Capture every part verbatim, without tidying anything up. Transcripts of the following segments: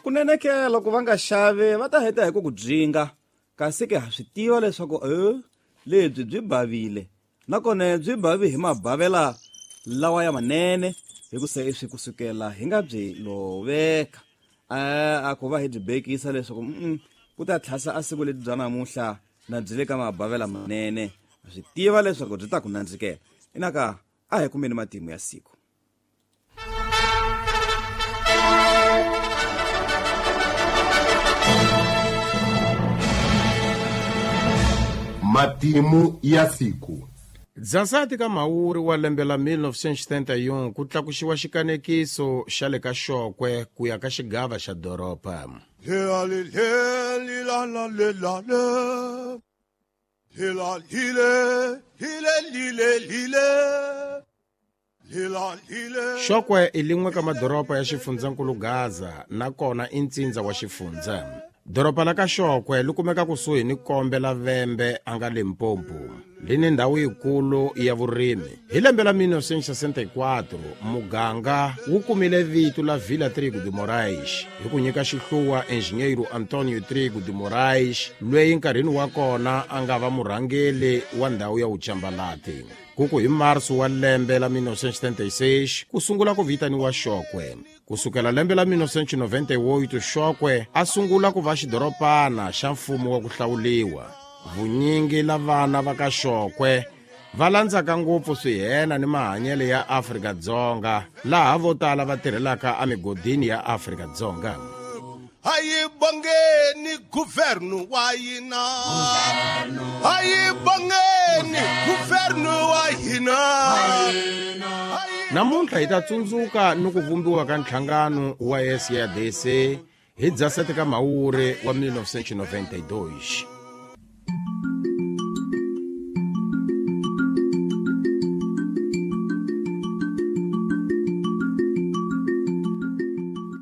Kunene ke loko va nga xavi va ta heta hi ku ku byinga, kasi ke ha swi tiva leswaku e lebyi byi bavile, nakona byi bavi hi mabavela lawa ya manene, hi ku se swi kusukela hi nga byi loveka. A ku va hi byi bekisa leswaku mm ku ta tlhasa a siku lebyi bya namuntlha na byi le ka mabavela manene, swi tiva leswaku byi ta ku nandzikela. Inaka a hi kumeni matimu ya siku. Matimu ya siku. Dzasati ka Mhawuri wa lembe la mille neuf cent setenta e un ku tlakuxiwa xikanekiso xa le ka Xokwe ku ya ka xigava xa doroba. Xokwe i lin'we ka madoroba ya xifundzankulu Gaza nakona i ntsindza wa xifundza. Doroba la ka Xokwe li kumeka kusuhi ni kombe la Vhembe a nga Limpopo, li ni ndhawu yikulu ya vurimi. Hi lembe la mille neuf cent sesenta e quatro muganga wu kumile vito la Vila Trigo de Moraes hi ku nyika xihluwa enjinyeiro Antonio Trigo de Moraes, loyi nkarhini wa kona a nga va murhangeli wa ndhawu ya Uchambalati. Kuku hi marso wa lembe la mille neuf cent setenta e seis ku sungula ku vitaniwa Xokwe. Kusukela lembe la mille neuf cent noventa e oito Xokwe a sungula ku va xidoropana xa mfumo wa ku hlawuliwa. Vunyingi la vana va ka Xokwe va landzaka ngopfu swihena ni mahanyelo ya Afrika-Dzonga, laha vo tala va tirhelaka emigodini ya Afrika-Dzonga. Hayi bongeni guvernu wa hina, hayi bongeni guvernu wa hina. Namuntlha hi ta tsundzuka ni ku vumbiwa ka nhlangano wa S A D C hi Dzaseti ka Mhawuri wa mille neuf cent noventa e dois.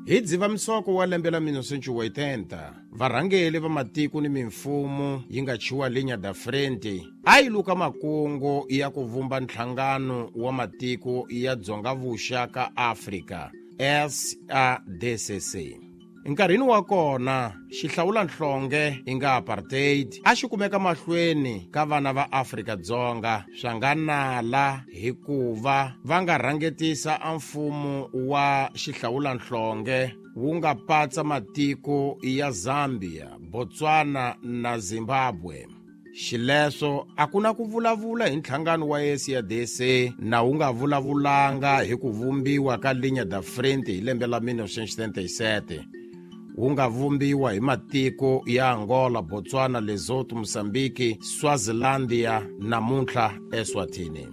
Hi Dzivamisoko wa lembe la mille neuf cent oitenta, varhangeli va matiko ni mimfumo yi nga chiwa Linha da Frente a yi luka makungu ya ku vumba nhlangano wa matiko ya Dzonga-Vuxa ka Afrika S A D C C. Nkarhini wa kona xihlawulanhlonge i nga apartheid a xi kumeka mahlweni ka vana va Afrika-Dzonga swa nga nala hikuva va nga rhangetisa a mfumo wa xihlawulanhlonge wu nga patsa matiko ya Zambia, Botswana na Zimbabwe. Xileswo a ku na ku vulavula hi nhlangano wa S A D C na wu nga vulavulanga hi ku vumbiwa ka Linha da Frente hi lembe la mille neuf cent setenta e sete, wu nga vumbiwa hi matiko ya Angola, Botswana, Lesotho, Mozambique, Swazilandia namuntlha Eswatini.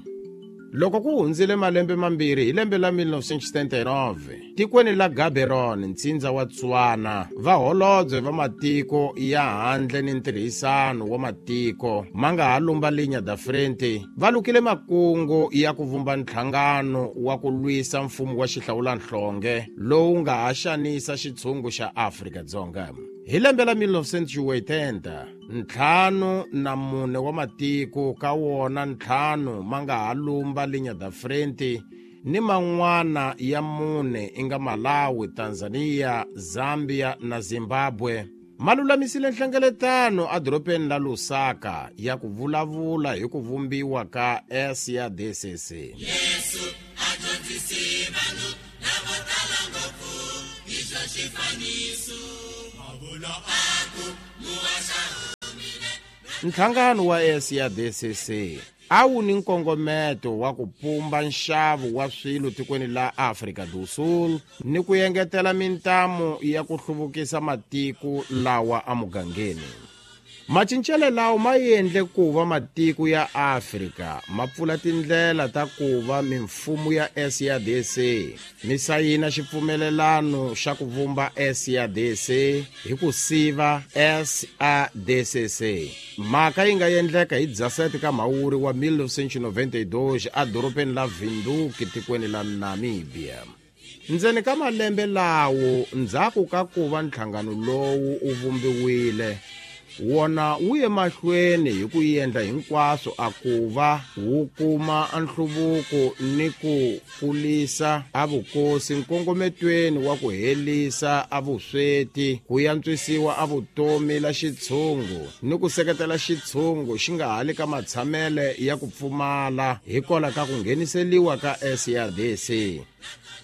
Loko ku hundzile malembe mambirhi hi lembe la mille neuf cent setenta e nove, tikweni la Gaborone, ntsindza wa Tswana, vaholobye va matiko ya handle ni ntirhisano wa matiko ma nga ha lumba Linha da Frente va lukile makungu ya ku vumba nhlangano wa ku lwisa mfumo wa xihlawulanhlonge lowu nga ha xanisa xitshungu xa Afrika-Dzonga. Hi lembe la mille neuf cent oitenta, ntlhanu na mune wa matiko ka wona ntlhanu ma nga ha lumba Linha da Frente ni man'wana ya mune i nga Malawi, Tanzania, Zambia na Zimbabwe ma lulamisile nhlengeletano edorobeni la Lusaka ya ku vulavula hi ku vumbiwa ka S A D C C. Yesu a dyondzise vanhu lavo tala ngopfu hi swa xifaniso. A vula a ku, muhaxa humile. Nhlangano wa S A D C C a wu ni nkongometo wa ku pumba nxavo wa swilo tikweni la Afrika do Sul ni ku engetela mintamu ya ku hluvukisa matiko lawa emugangeni. Macincelo lawa ma endle ku va matiko ya Afrika ma pfula tindlela ta ku va mimfumo ya S A D C mi sayina xipfumelelano xa ku vumba S A D C hi ku siva S A D C C. Mhaka yi nga endleka hi Dzaseti ka Mhawuri wa mille neuf cent noventa e dois edorobeni la Windhoek tikweni la Namibia. Ndzeni ka malembe lawo ndzhaku ka ku va nhlangano lowu wu vumbiwile, Wona wu ye mahlweni hi ku endla hinkwaswo a ku va wu kuma nhluvuko ni ku kulisa a vukosi nkongometweni wa ku helisa a vusweti, ku yantswisiwa a vutomi la xitshungu ni ku seketela xitshungu xi nga hali ka matshamele ya ku pfumala hikola ka ku ngheniseliwa ka S A D C.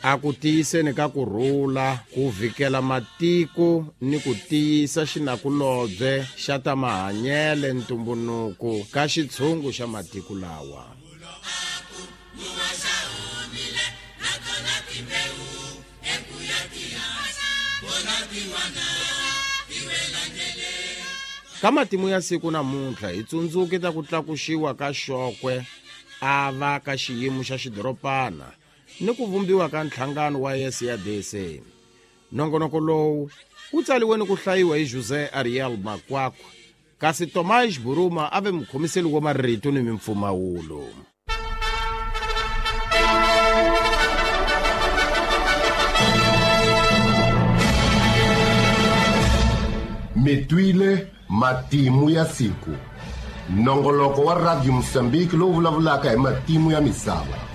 A ku tiyiseni ka ku rhula, ku vikela matiko ni ku tiyisa xinakulobye xa ta mahanyele ntumbunuko ka xitshungu xa matiko lawa. Ka matimu ya siku namuntlha hi tsundzuke ta ku tlakuxiwa ka Xokwe a va ka xiyimo xa xidoropana ni ku vumbiwa ka nhlangano wa S A D C. Nongonoko lowu wu tsaliwe ni ku hlayiwa hi José Ariel Makwakwa, kasi Tomás Buruma a ve mukhomiseli wa marito ni mimpfumawulo. Mitwile matimu ya siku. Nongoloko wa Radio Mozambique lowu vulavulaka hi matimu ya misava.